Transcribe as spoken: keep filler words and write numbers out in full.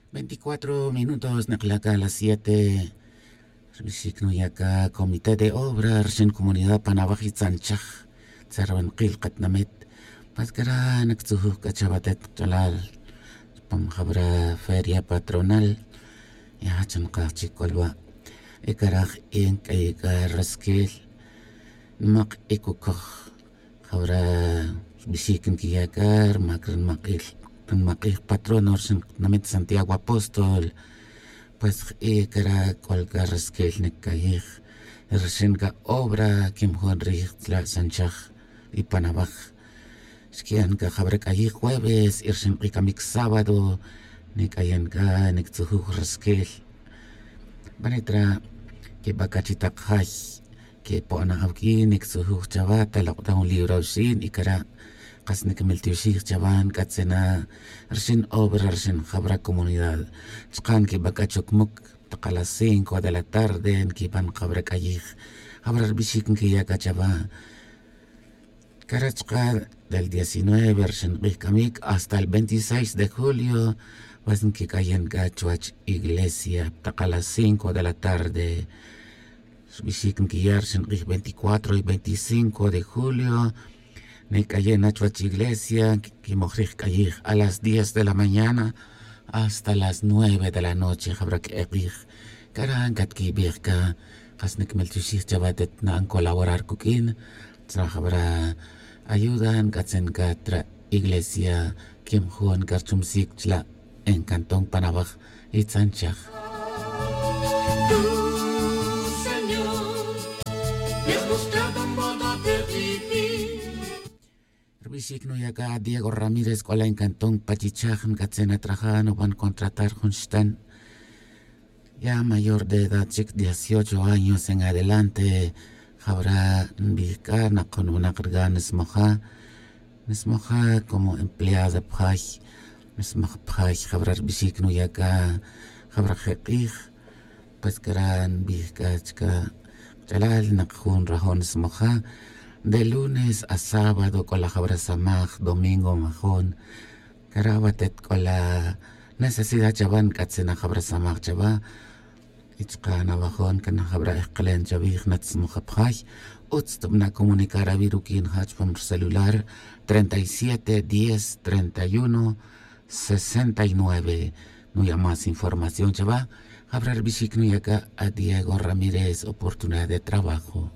Veinticuatro minutos nek'la' ka las siete. Rbixic nuya' ka comité de obra rxin comunidad panabaj y tzanchaj tzerwenakil katinamit. Pues cara' nactzujuj c'a chawatet kach'alal chupam jawra feria patronal. Ya chunakaj chic c'olwa'. Y cara' jin c'ayi' c'a resquil nmak' y cucoj. Jawra rbixic nquiya' c'a rmac rnimak'ij patrono rxin tinamit santiago apóstol. Pues j'i' cara' c'ol c'a resquil nicayij rxin c'a obra quimjon rij tzla' xanchaj y panabaj. Xqui'an c'a jawra c'ayij jueves y rxin k'ij camic sábado. Nic'ayen c'a nictzujuj resquil. Banit ra' quiba c'a chi tak jay quepo'na awq'ui nictzujuj chawa talok' ta jun libro awxin y cara' kas nicmiltioxij chawa nc'atzena rxin obra rxin jawra comunidad. Chaka' nquiba c'a chocmuc tak a las cinco de la tarde nquiban jawra c'ayij. Jawra rbixic nquiya' c'a chawa. Cara' chaka' del diecinueve rxin k'ij camic hasta el veintiseis de julio. Pues nquic'ayen c'a chuwech iglesia tak a las cinco de la tarde. Rbixic nquiya' rxin k'ij veinticuatro y veinticinco de julio. Nic'ayen na chuwech iglesia quimoj rij c'ayij a las diez de la mañana hasta las nueve de la noche jawra que'ek'ij. Cara' ncatquibij c'a kas nicmiltioxij chawa tet na'an colaborar cuq'uin. Tzra jawra ayuda nc'atzen c'a tra iglesia quimjon c'a rchumsic chla' en cantón panabaj y tzanchaj. Rbixic nuya' c'a diego ramírez c'ola' en cantón pachichaj nc'atzen atraja nuban contratar jun xtan ya mayor de edad chic dieciocho años en adelante. Jawra nbij c'a nak jun winak rga nismoja. Nismoja como empleada pjay. Nismoj pjay jawra rbixic nuya' c'a jawra je' k'ij. Pues cara' nbij c'a chica kach'alal nak jun rajon nismoja. De lunes a sábado c'ola jawra samaj domingo majon. Cara' watet c'ola necesidad chawa nc'atzena jawra samaj chawa. Y chaka' nawajon c'a najawra ejkelen chawij natsmoja pjay. Utz tubana' comunicar awi' ruq'uin ja chupam rcelular treinta y siete diez treinta y uno sesenta y nueve. Nuya' más información chawa. Jawra rbixic nuya' c'a a diego ramírez oportunidad de trabajo.